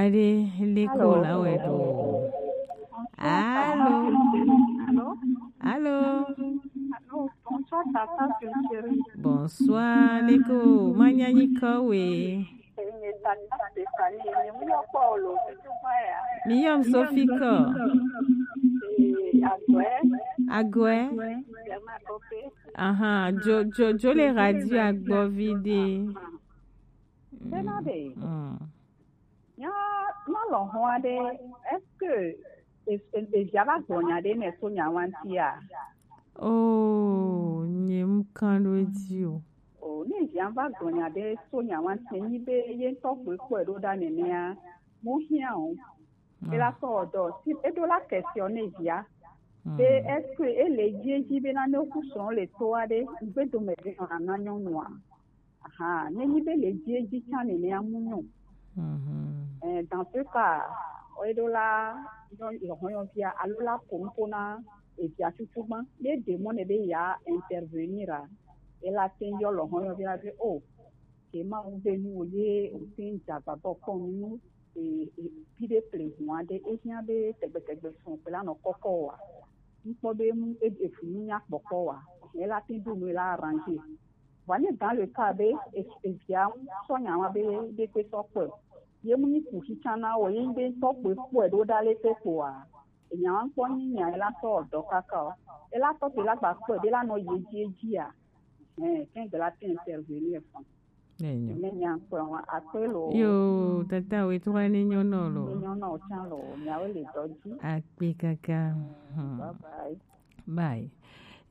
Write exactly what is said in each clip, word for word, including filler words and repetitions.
Allô. Allô. Allô. Allô. Bonsoir, Tata Chérie. Bonsoir, Leko. Manyanyi kowe. Tata Stéphanie, mi yɔ kpɔ lo, tutu kpɔ ya. Mi yɔ Sophie ko. Eh, Agwe. Agwe. Aha, jo, jo, jo le radio agbo vide. Bena de. Mm. Nya, na lɔ hɔn aɖe, est-ce que e- e- evia va gblɔ nya ɖe nɛ so nya ŋuti a? Oh, nye mu kan ɖo edzi o. O, ne evia va gblɔ nya ɖe so nya ŋuti, nyi be ye ŋutɔ kpɔe kpɔe ɖo ɖa nenea, mu hiã o. Ela sɔ ɔdɔ si eɖo la question ne evia. Be est-ce que ele dzi edzi be na ne ku srɔ̃ le to aɖe, ŋgbedo me be nɔ ana nyɔnua? Aha, ne nyi be le dzi edzi tsã nenea mu nyɔ. Eh, dans ce cas, eɖo la yɔ lɔhɔnyɔvia alo la ko nuƒo na evia tutu gbã. Ne ɖe mɔ ne be ya intervenir a, ela te yɔ lɔhɔnyɔvia be o, ke ma wu be nu wo ye o te dza gbabɔ kpɔ nu e, e, pi ɖe ple hu aɖe, ehiã be tegbetegbe srɔ̃ kple anɔ kɔkɔ oa? Ŋkpɔ be mu e- efu nu nya kpɔkpɔ oa? Ela te ɖo nu la arranger. Vɔ ne dans le cas be e- evia ŋu sɔ nya wa be ɖe kpe sɔ kpɔe, ye mu nyi kuxi tsã na wo, ye be tɔ kpe kpɔe ɖo ɖa le te kpoa, enya wa ŋkpɔ nyi nya ela tɔ dɔ kaka o. Ela tɔ te la gba kpɔe be la nɔ ye dzi edzi a? Eh, kɛn de la te intervenir fɔn. Enyo. Ne nya kpɔ wa akpe lo. Yo, tata we to ne nyo no lo. Ne nyo no chan lo, nya we le doji. Akpe kaka. Hmm. Bye bye. Bye.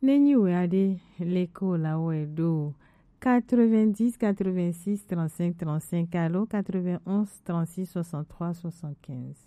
Ne nyi we aɖe le ko la we do quatre-vingt-dix quatre-vingt-six trente-cinq trente-cinq, allô, quatre-vingt-onze trente-six soixante-trois soixante-quinze.